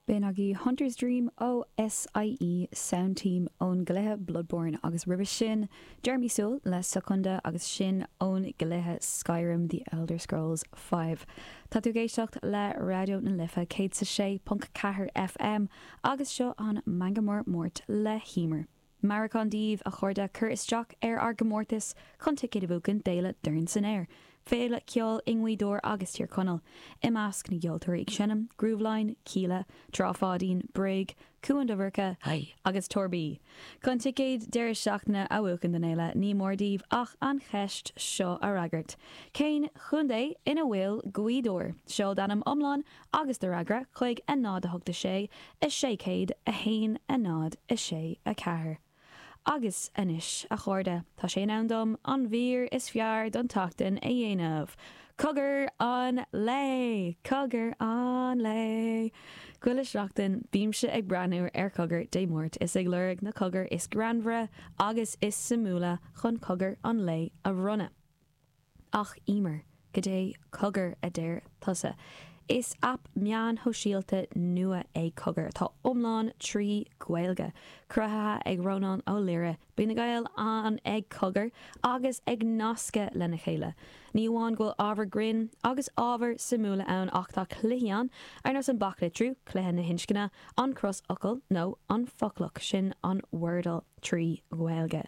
B'in agaibh Hunter's Dream ó SIE Sound Team ón gcluiche Bloodborne agus roimhe sin Jeremy Soule le Secunda agus sin ón gcluiche Skyrim The Elder Scrolls V. Tá tú ag éisteacht le Raidió na Life 106.4 FM agus seo an Meangadh Mór Máirt le hEmer. Meabhrúchán daoibh, a chairde, cur isteach ar ár gcomórtas chun ticéid a bhuachan d'Fhéile Dorn san Aer, féile ceoil i nGaoth Dobhair agus Tír Chonaill. I measc na gceoltóirí ag seinm, Grooveline, Kíla, Trá Pháidín, Bréag, Cuan Dobhairce, agus Torby. Chun ticéid deireadh seachtaine a bhuachan don fhéile, ní mór daoibh ach an cheist seo a fhreagairt, Cén chontae ina bhfuil Gaoth Dobhair? Seol d'ainm iomlán agus do fhreagra chuig 0 8 6 600 1 0 6 4. Agus anois, a chairde, tá sé in am dom an mhír is fearr don tseachtain a dhéanamh! Cogar an Lae! Cogar an Lae! Chuile sheachtain, bímse ag breathnú ar Chogar Dé Máirt is ag lorg na cogair is greannmhaire agus is suimiúla chun Cogar an Lae a bhronnadh. Ach Emer, goidé Cogar a deir tusa? Is aip meáin shóisialta nua é Cogar atá iomlán trí Ghaeilge. Cruthaithe ag Rónán Ó Laoire, bíonn na Gaeil ann ag cogar agus ag nascadh lena chéile. Ní amháin go bhfuil ábhar grinn agus ábhar suimiúla ann ach tá cluichí ann ar nós an baclitriú, cluiche na hinscne, an crosfhocal nó an foclach, sin an Wordle. 3 Ghaeilge.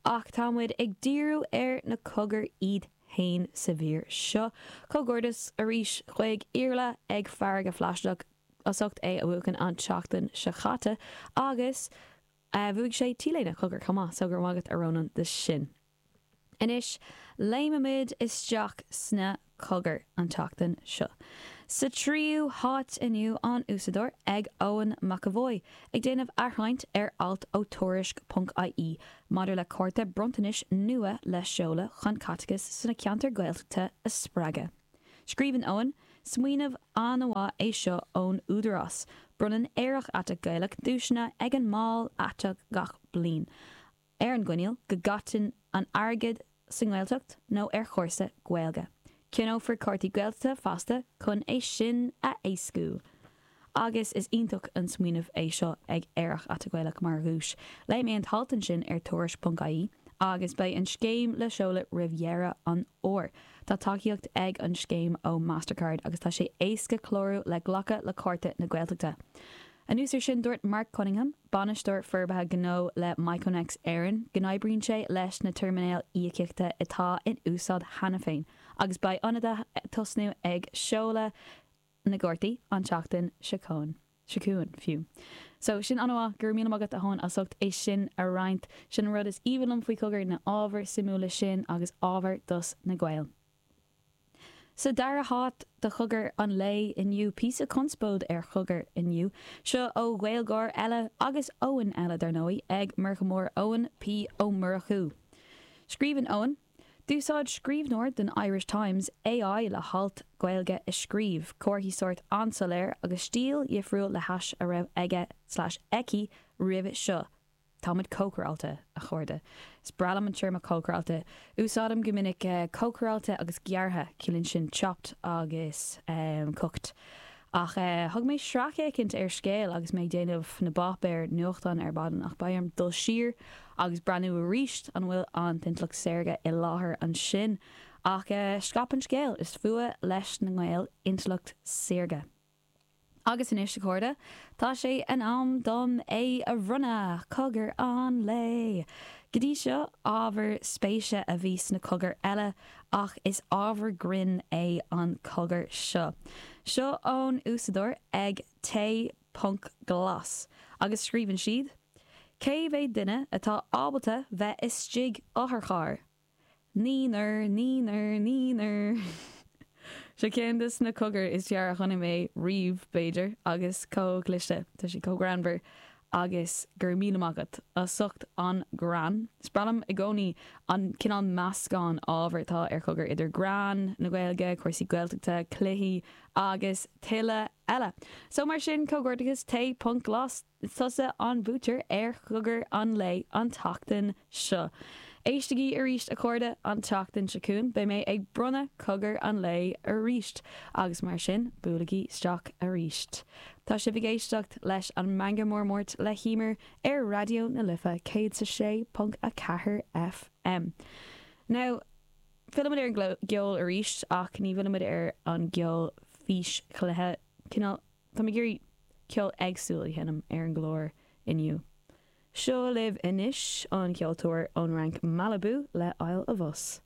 Ach tá muid ag díriú ar na cogair iad fhéin sa mhír seo. Comhghairdeas arís chuig Iarla ag Farraige Phlaisteach as ucht é a bhuachan an tseachtain seo chaite agus bhuaigh sé T-léine Cogar chomh maith so go raibh maith agat a Rónán do sin. Anois, léimimid isteach sna cogair an tseachtain seo. Sa tríú háit inniu, an Úsáideoir ag Eoin McEvoy, ag déanamh athroinnt ar alt ó Tuairisc ponc ie maidir le cárta bronntanais nua le seoladh chun caiteachas sna ceantair Gaeltachta a spreagadh. Scríobhann Eoin, Smaoineamh an-mhaith é seo ón Údarás. Bronnann Aerach Aiteach Gaelach duaiseanna ag an mball aiteach gach bliain. ar an gcoinníoll go gcaiteann an airgead sa nGaeltacht nó ar chúrsa Gaeilge. Ceannófar cártaí Gaeltachta feasta chun é sin a éascú. Agus is iontach an smaoineamh é seo ag Aerach Aiteach Gaelach mar dhuais. Léigh mé an t-alt ansin ar Tuairisc.ie agus beidh an scéim le seoladh roimh dheireadh an fhómhair. Tá tacaíocht ag an scéim ó Mastercard agus tá sé éasca clárú le glacadh le cárta na Gaeltachta. Anuas ar sin, dúirt Mark Cunningham, Bainisteoir Forbartha Gnó le Miconex Éireann, go n-oibríonn sé leis na teirminéil íocaíochta atá in úsáid cheana féin agus beidh ionadaithe ag tosnú ag seoladh na gcártaí an tseachtain seo chugainn, fiú. So, sin an-mhaith, go raibh míle maith agat a Eoin as ucht é sin a roinnt. Sin an rud is aoibhinn liom faoi Chogar, na ábhair suimiúla sin agus ábhar dos na Gaeil. Sa dara háit do Chogar an lae inniu, píosa conspóid ar Chogar inniu. Seo ó Ghaeilgeoir eile, agus Eoin eile dar ndóigh, ag Murchadh Mór Eoin P Ó Murchú. Scríobhann Eoin, D'úsáid scríbhneoir don Irish Times AI le halt Gaeilge a scríobh. Comharthaí sóirt an-soiléir agus stíl dhifriúil le hais a raibh aige slash aici roimhe seo. Táimid cócaráilte, a chairde. Is breá liom an téarma cócaráilte. Úsáidim go minic cócaráilte agus gearrtha, ciallaíonn sin chopped agus cooked. Ach thug mé sracfhéachaint ar scéal agus mé ag déanamh na bpáipéar nuachtáin ar maidin ach beidh orm dul siar agus breathnú arís an bhfuil an t-intleacht saorga i láthair ansin. Ach scaip an scéal, is fuath leis na nGaeil intleacht saorga. Agus anois, a chairde, tá sé in am dom é a bhronnadh! Cogar an lae! Go dtí seo, ábhar spéise a bhí sna cogair eile, ach is ábhar grinn é an cogar seo. Seo ón úsáideoir ag tae ponc glas, agus scríobhann siad, Cé mhéad duine atá ábalta bheith istigh otharcharr? Naonúr, naonúr, naonúr. Seo ceann de na cogair is fearr a chonaic mé riamh, b'fhéidir, agus chomh cliste. Tá sé chomh greannmhar agus go raibh míle maith agat as ucht an greann. Is breá liom i gcónaí an cineál meascán ábhar atá ar Chogar idir greann na Gaeilge, cúrsaí Gaeltachta, cluichí agus tuilleadh eile. So mar sin, comhghairdeachas tae ponc glas. Is tusa an buaiteoir ar Chogar an Lae an tseachtain seo. Éistigí arís, a chairde, an tseachtain seo chugainn. Beidh mé ag bronnadh cogar an lae arís agus mar sin, buailigí isteach arís. Tá sibh ag éisteacht leis an Meangadh Mór Máirt le hEmer ar Raidió na Life 106.4 FM. Now, fillimid ar an gceol arís ach ní fhillimid ar an gceol físchluiche. Cineál, táim ag iarraidh ceol éagsúil a sheinm ar an gclár inniu. Seo libh anois an ceoltóir ón Fhrainc Malibu le Isle of Us.